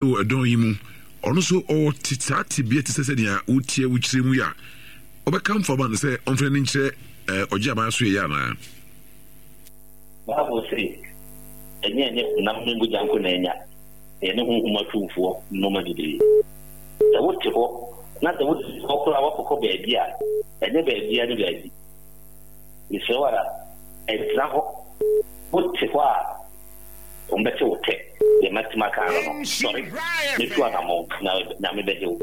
Wɔ ɛdɔn yi mu, ɔno nso ɔwɔ te saa tebea te sɛ sɛnea wotia wo kyerɛ mu yi a, wobɛkamfo ama no sɛ ɔmfa n'ani nkyerɛ eh, ɔgye aban so yɛyɛ anaa? Bible se, Ɛnyɛ ɛne honam ne mogya nko na anya, na ɛne honhom atumfoɔ nnoɔma bebree. Sɛ wote hɔ, na sɛ wote hɔ koraa woakɔkɔ baabi a, ɛnyɛ baabiara ne baabi. Mesrɛ wo ara, ɛntena hɔ. Wote hɔ a, Wɔbɛte wo tɛ, deɛ matumi aka ano no, sɔre na tu anammɔn, na Nyame bɛgye wo.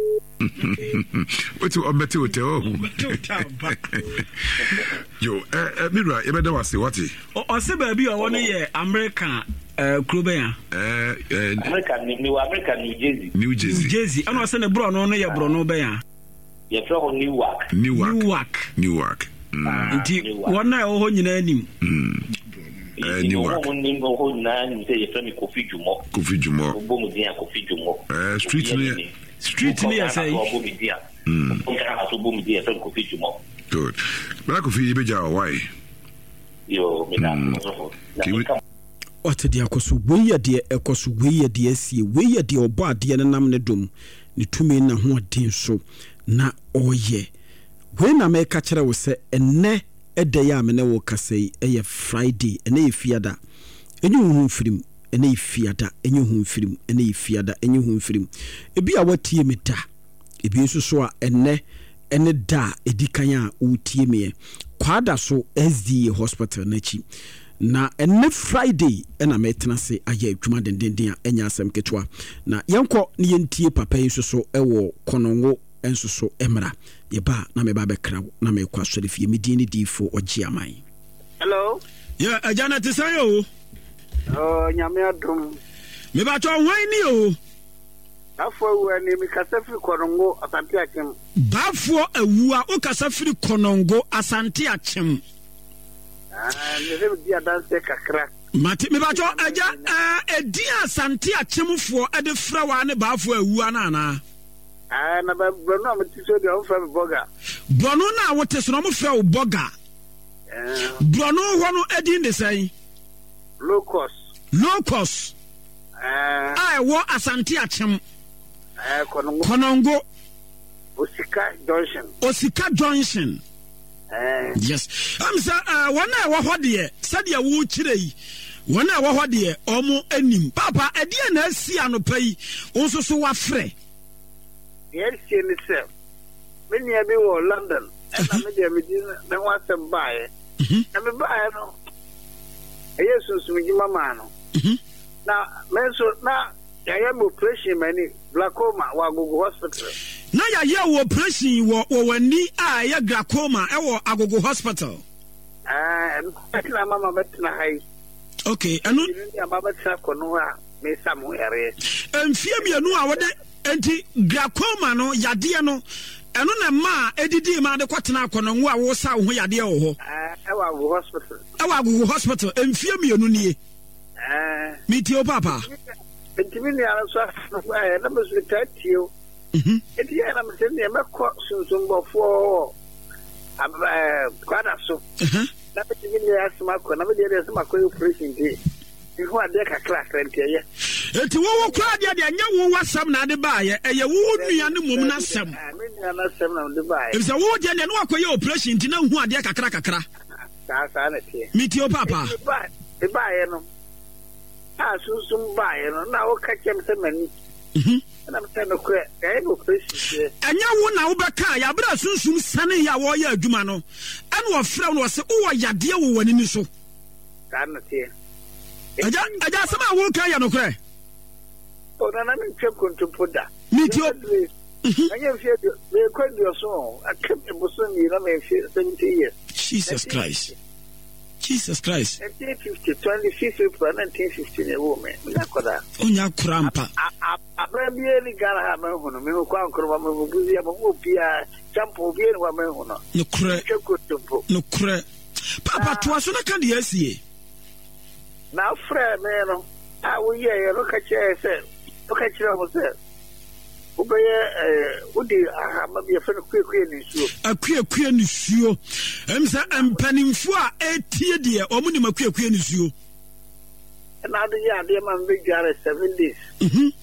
Wote ɔbɛte wo tɛ ɔhu. Yo, eh, eh, me wura, yɛbɛda wo ase, wate. Ɔse baabi a ɔwɔ no yɛ Amerika eh, kuro bɛn a? Eh, eh, Amerika, mewɔ Amerika, New Jersey. New Jersey. New Jersey, ɛna ɔse ne borɔno no yɛ borɔno bɛn a? Yɛfrɛ hɔ Newark. Newark. Newark. Newark. Mm. Nti wɔn a ɛwɔ hɔ nyinaa nim. Mm. Eh, Newark. Wɔn nim wɔ hɔ nyinaa nim sɛ yɛfrɛ me Kofi Dwumɔ. Kofi Dwumɔ. Wobɔ mu din a Kofi Dwumɔ. Eh, street no yɛ. Street no yɛ sɛ. Wobɔ mu din a. Mm. Ghana so bɔ mu din yɛfrɛ me Kofi Dwumɔ. Good. Bra Kofi yɛbɛgya wɔ why? Yo, me da mm. Ɔte deɛ ɛkɔ so, wei yɛ deɛ ɛkɔ so, wei yɛ deɛ asie, wei yɛ deɛ ɔbɔ adeɛ no nam ne dom, ne tumi ne n'ahoɔden so na ɔreyɛ. Wei na meka kyerɛ wo sɛ ɛnnɛ da yi a me ne wo rekasa yi yɛ Friday, ɛnnɛ yɛ Fiada. Ɛnyɛ wo ho mfiri mu, ɛnnɛ yɛ Fiada, ɛnyɛ wo ho mfiri mu, ɛnnɛ yɛ Fiada, ɛnyɛ wo ho mfiri mu. Ebi a woatie me da, ebi nso so a ɛnnɛ ɛne da a ɛdi kan a woretie meɛ. Kwada so SDA Hospital no akyi. Na ɛnnɛ Friday na metena ase ayɛ adwuma dendenden a ɛnyɛ asɛm ketewa. Na yɛnkɔ na yɛntie papa yi nso so wɔ Kɔnɔngo nso so mmra. Yɛba a na meba abɛkra wo na merekɔ asɔrefie. Me din ne Diifo Ɔgyeaman. Hello. Yeah, agya na te sɛn o? Oh, nyame adom. Mebatɔ hwan ni o? Bafoɔ awua ni, mekasa firi Kɔnɔngo, Asante Akyem. Bafoɔ awua, wokasa firi Kɔnɔngo, Asante Akyem. Mepɛ medi adanseɛ kakra. Mate mebatɔ agya ɛdin a Asante Akyemfoɔ ɛde frɛ wa ne Baafoɔ awua no anaa? Na borɔno a mete so deɛ wɔmfrɛ me bɔga. Borɔno no a wote so no wɔmfrɛ wo bɔga. Borɔno hɔ no ɛdin de sɛn? Locust. Locust. A ɛwɔ Asante Akyem. Kɔnɔngo. Osika Junction. Osika Junction. Yes. Ɛm sɛ wɔn a ɛwɔ hɔ deɛ sɛdeɛ wokyerɛ yi wɔn a ɛwɔ hɔ deɛ wɔn anim. Papa ɛdeɛ na asi anɔpa yi wo nso so wafrɛ. Deɛ asie ne sɛ me nua bi wɔ London ɛna me deɛ medi ne ho asɛm baeɛ. Mhm. Na me baeɛ no ɛyɛ sunsum dwuma maa no. Mhm. Na me nso na yɛayɛ me operation m'ani. Glaucoma wɔ Agogo Hospital. Na yɛayɛ wo operation wɔ wɔ w'ani a ɛyɛ glaucoma ɛwɔ Agogo Hospital. Ɛɛ, ɛno na ama mabɛtena ha yi. Okay, ɛno. Ɛno ni ama mabɛtena kɔ no a mesa mo yareɛ. Mfie mmienu a wɔde nti glaucoma no yadeɛ no ɛno na ɛma a ɛdidi ma de kɔtena akɔnɔngo a wosa wo ho yadeɛ wɔ hɔ. Ɛwɔ Agogo Hospital. Ɛwɔ Agogo Hospital mfie mmienu nie. Ɛɛ. Metie wo papa. Enti me nua no nso asɛm no baeɛ na me nso metaa tie o. Mhm. Enti yɛ na mese neɛ mɛkɔ sunsumbɔfoɔ wɔ kwada so. Mhm. Na mede me nua asɛm akɔ na medeɛ deɛ sɛ makɔyɛ operation nti mehu adeɛ kakrakra nti ɛyɛ. Enti wowo koraa deɛ deɛ ɛnyɛ wo w'asɛm na ade baayɛ ɛyɛ wo nua no mmom n'asɛm. Me nua n'asɛm na mede baayɛ. Efisɛ wo deɛ deɛ ne wakɔyɛ operation nti na nhu adeɛ kakra kakra. Saa saa na ɛteɛ. Metie wo paapa. Mebaayɛ no a sunsum baeɛ no na woka kyerɛ me sɛ m'ani mhm. ɛna mesɛ nokorɛ ɛyɛ me operation deɛ. Ɛnyɛ wo na wobɛkaa yɛ aberɛ a sunsum sane yɛ a wɔreyɛ adwuma no ɛna ɔfrɛ wo na ɔse wowɔ yadeɛ wɔ w'ani no so. Saa na teɛ. Agya agya asɛm a woka yɛ nokorɛ. O nana mentwa nkontompo da. Metio. Mhm. Ɛnyɛ mfeɛ aduo mekɔ aduɔson o aka bosom mmienu na mfeɛ 70 years. Jesus Christ. Jesus Christ. 1950, 25 April 1950 na ɛwoo me. Menya akwadaa. Onya akora mpa. Abran biara ni Ghana ha manhu no. Mehu Kwame Nkrumah, mehu Busia, mehu obiara. Champo, obiara ni hɔ a manhu no. Nokorɛ. Metwa kontompo. Nokorɛ. Papa toa so na ka deɛ asie. Na afrɛ me no a woyɛeɛ no ka kyerɛɛ sɛ woka kyerɛɛ ho sɛ Wobɛyɛ ɛɛ wode ahama bi yɛfrɛ no kuekue ne nsuo. Akuekue ne suo. Ɛm sɛ mpanimfoɔ a ɛretie deɛ wɔn nim akuekue ne suo. Ɛna ade yɛ adeɛ ma mebɛdware 7 days. Mhm.